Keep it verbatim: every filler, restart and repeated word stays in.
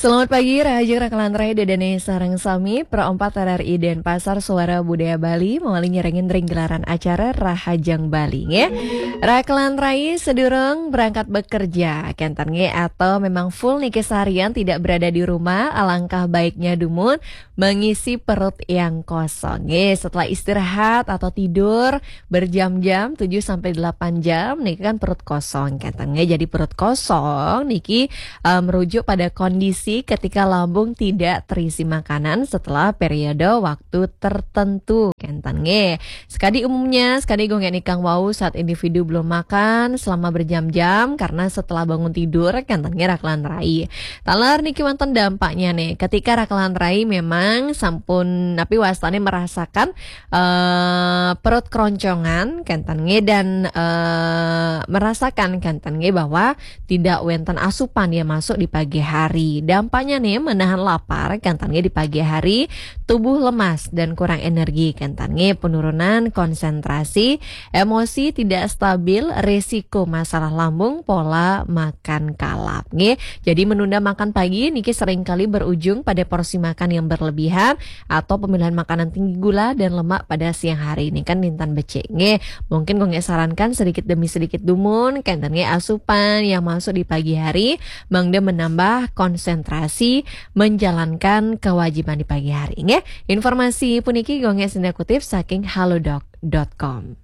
Selamat pagi, Rahajeng Rakalan Rai, Dedene sareng sami, Pro empat R R I Denpasar, Suara Budaya Bali, mawali nyerengin ring gelaran acara Rahajeng Bali, nggih. Rakalan Rai sedurung berangkat bekerja, kenten nggih, atau memang full niki seharian tidak berada di rumah, alangkah baiknya dumun mengisi perut yang kosong, nggih. Setelah istirahat atau tidur berjam-jam, tujuh sampai delapan jam, niki kan perut kosong, kenten nggih. Jadi perut kosong niki eh, merujuk pada kondisi ketika lambung tidak terisi makanan setelah periode waktu tertentu, kenten nggih. Sekadi umumnya, sekadi gonggeng nikang wau saat individu belum makan selama berjam-jam karena setelah bangun tidur, kenten nggih, Rakalan Rai. Taler niki wonten dampaknya nih, ketika Rakalan Rai memang sampun napi wastane merasakan eh, perut keroncongan, kenten nggih, dan eh, merasakan, kenten nggih, bahwa tidak wenten asupan yang masuk di pagi hari. Dampaknya nih, menahan lapar, kenten nggih, di pagi hari, tubuh lemas dan kurang energi, kenten nggih, penurunan konsentrasi, emosi tidak stabil, resiko masalah lambung, pola makan kalap, nggih. Jadi menunda makan pagi niki seringkali berujung pada porsi makan yang berlebihan atau pemilihan makanan tinggi gula dan lemak pada siang hari, ini kan nintan becik, nggih. Mungkin gonggeng sarankan sedikit demi sedikit dumun, kenten nggih, asupan yang masuk di pagi hari, mangda menambah konsentrasi menjalankan kewajiban di pagi hari, nggih. Informasi puniki gonggeng senda kutip saking halodoc dot com.